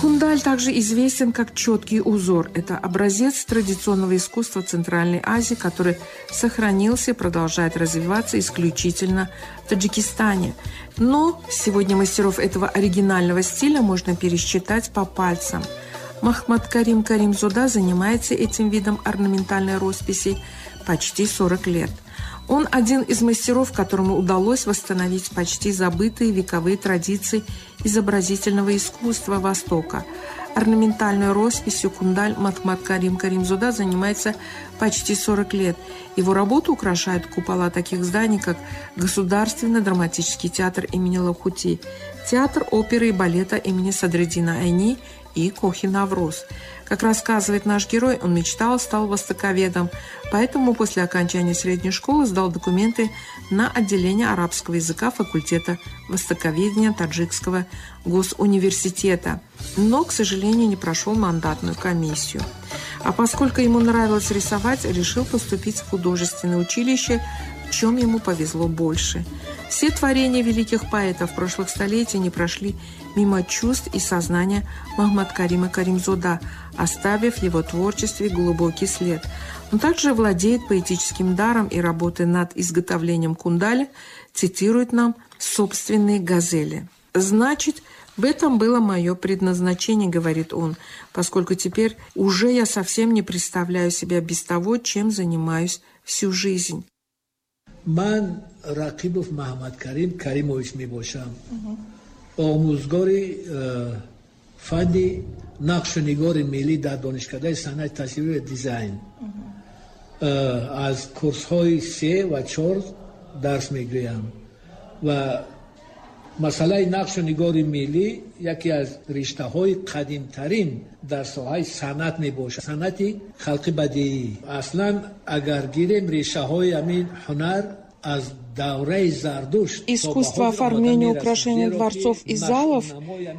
Кундаль также известен как четкий узор. Это образец традиционного искусства Центральной Азии, который сохранился и продолжает развиваться исключительно в Таджикистане. Но сегодня мастеров этого оригинального стиля можно пересчитать по пальцам. Махмад Карим Каримзода занимается этим видом орнаментальной росписи почти 40 лет. Он один из мастеров, которому удалось восстановить почти забытые вековые традиции изобразительного искусства Востока. Орнаментальной росписью кундаль Махмад Карим Каримзода занимается почти 40 лет. Его работу украшают купола таких зданий, как Государственный драматический театр имени Лахути, Театр оперы и балета имени Садриддина Айни и Кохи Навруз. Как рассказывает наш герой, он мечтал, стал востоковедом, поэтому после окончания средней школы сдал документы на отделение арабского языка факультета востоковедения Таджикского госуниверситета. Но, к сожалению, не прошел мандатную комиссию. А поскольку ему нравилось рисовать, решил поступить в художественное училище, в чем ему повезло больше. Все творения великих поэтов прошлых столетий не прошли мимо чувств и сознания Махмад Карима Каримзода, оставив в его творчестве глубокий след. Он также владеет поэтическим даром и, работая над изготовлением кундаля, цитирует нам собственные газели. «Значит, в этом было мое предназначение, — говорит он, — поскольку теперь уже я совсем не представляю себя без того, чем занимаюсь всю жизнь». Ман Рақибов Маҳаммадкарим Каримович мебошам, омӯзгори фанни нақшу нигори миллӣ дар Донишкадаи санъати тасвирӣ ва дизайн. Аз курсҳои се ва чор дарс мегӯям ва масъалаи нақшу нигори миллӣ яке аз риштаҳои қадимтарин дар соҳаи санъат мебошад, санъати халқи бадиӣ. Аслан агар гирем, решаҳои ҳамин ҳунар аз давраи Зардушт. Искусство оформления украшения дворцов и залов,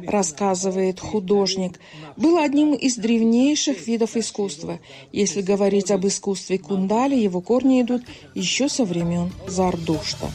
рассказывает художник, было одним из древнейших видов искусства. Если говорить об искусстве кундали, его корни идут еще со времен Зардушта.